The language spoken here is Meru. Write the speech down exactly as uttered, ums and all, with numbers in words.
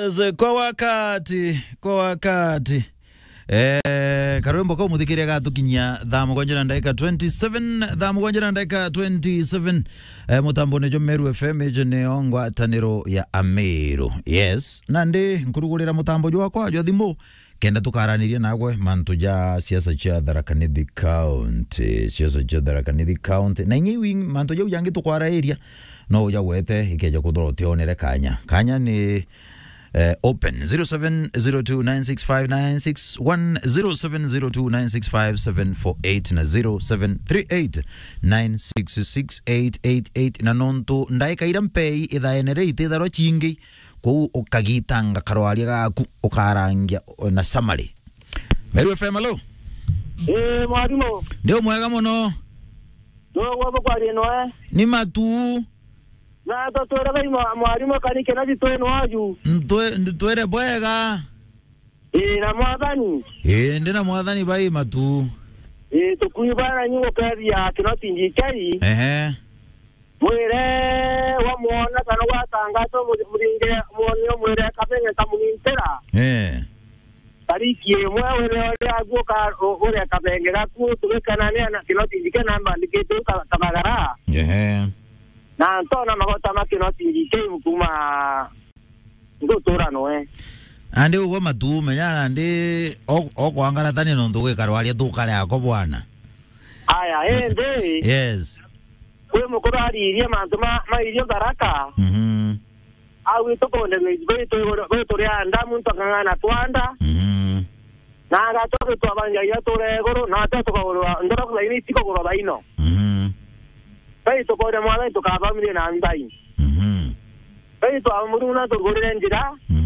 Yes, kwa wakati, kwa wakati. Eh, karwimbo kau muthikiria gatukinyia thaa mugwanja na ndagika twenty-seven, thaa mugwanja na ndagika twenty-seven. Eh, mutambone jo Meru F M, ijo nio ngwataniro ya Ameru. Yes, na ndi nkurugurira mutambo jwakwa jwa thimu, kenda tukaraniria nagwe mantu ja siasa cia Tharaka Nithi County, siasa cia Tharaka Nithi County. Na inya iwi mantu jau jangi tukwarairia, no uja gwete ikeja kuthora utionere kanya. Kanya ni, eh, open. Zero seven zero two nine six five nine six one, zero seven zero two nine six five seven four eight na zero seven three eight nine six six eight eight eight. Na nontu ndaika ira mpei ithaene ri ititharwa cingi, kou ukagitanga karwaria gaku ukarangia na summary. Meru F M, hello? Eh, mwarimu. Ndi umwega muno. Nogwa bukwaria noe. Ni Matu. Na tutwire bai mwa-, mwarimu, kani kena thitwenu aju. Ntwe-, ntwire bwega. Ii, na mwathani. Ii, ndi na mwathani bai Matu. Ii, tukui bana nyugo kethia Kinoti Njikei. Ehe. Mwire wamwona kana gwatangatwa mu-, muringe mwonio mwire kabenge kamunintira. Eh. Tariki imwe wire uria aguo ka-, u-, uria kabenge gaku tugikanania na Kinoti Njikei na mbandikite u ka-, kabagara. Ehe. Na ntona magota ma Kinoti Njikei kuma ngutura noe. Andi ugwe Matu, menya nandi o-, okwangaratania nontu gwikarwaria tukare ako bwana. Aya, indi. Yes. Kwi mukuru aririe mantu ma, ma irio Tharaka. Mhm. Au itukunde gwi-, gwitu-, gwituria nda, muntu akang'ana twanda. Mhm. Na agatwa gitwabanjagia tura iguru, na ate tukagurwa, ndora kulaini itikugurwa baino. Mhm. Bai tukore mwathani tukabamirie na nthai. Mhm. Bai twamuruna tugurire njira. Mhm.